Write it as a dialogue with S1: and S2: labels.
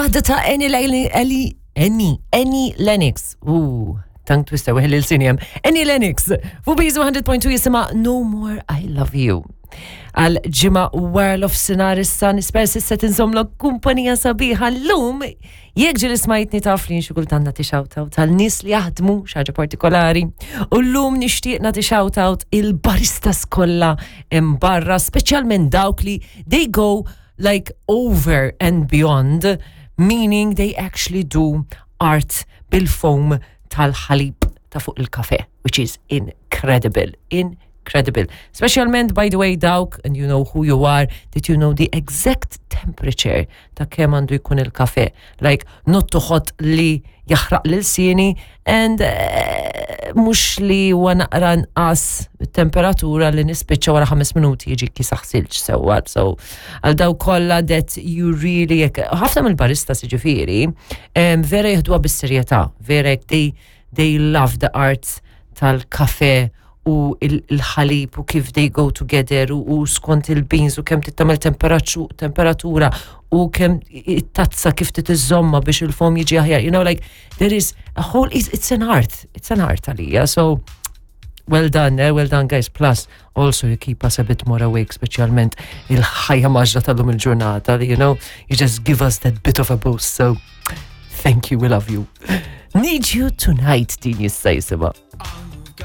S1: Waħda ta' Annie Annie Annie Annie Lennox. Ooh, tongue twister weħel il-sinjem. Annie Lennox, fuq Bizu 100.2 jisima No More I Love You. Għal ġimgħa wara l-ofsinar issa nisper s'issa tinżomlok kumpanija sabiħa llum. Jekk ġieli smajtni taf li xi kultant nagħti shout-out tal-nies li jaħdmu xi ħaġa partikolari. U llum nixtieq nagħti shout-out il-baristas kollha hemm barra, speċjalment dawk li they go like over and beyond, meaning they actually do art bil-foam tal-ħalib ta' fuq il-kafe, which is incredible. Incredible. Speċjalment, by the way, dawk, and you know who you are, that you know the exact temperature ta' kemm għandu jkun il-kafe. Like, not too hot li jaħraq lil sieni and eh, mhux li huwa naqra nqas temperatura li nispiċċa wara ħames minuti jiġi kisaħ silġ sewwa. So, għal daw kollha that you really ħafna mill-baristas jiġifieri vera jieħduha bis-serjetà, vera they, they love the art tal-kafe u il-ħalib u kif they go together u, u skont il-beans u kemm tittamel temperatura u kemm it-tazza kif titiżomma biex il-foam jiġi aħjar. You know, like, there is a whole, it's, it's an art, it's an art għalija. So, well done, eh? well done guys. Plus, also you keep us a bit more awake, speċjalment il-ħajja mgħaġġla tal-lum il-ġurnata, you know, you just give us that bit of a boost. So, thank you, we love you. Need you tonight, din jista' jisimha.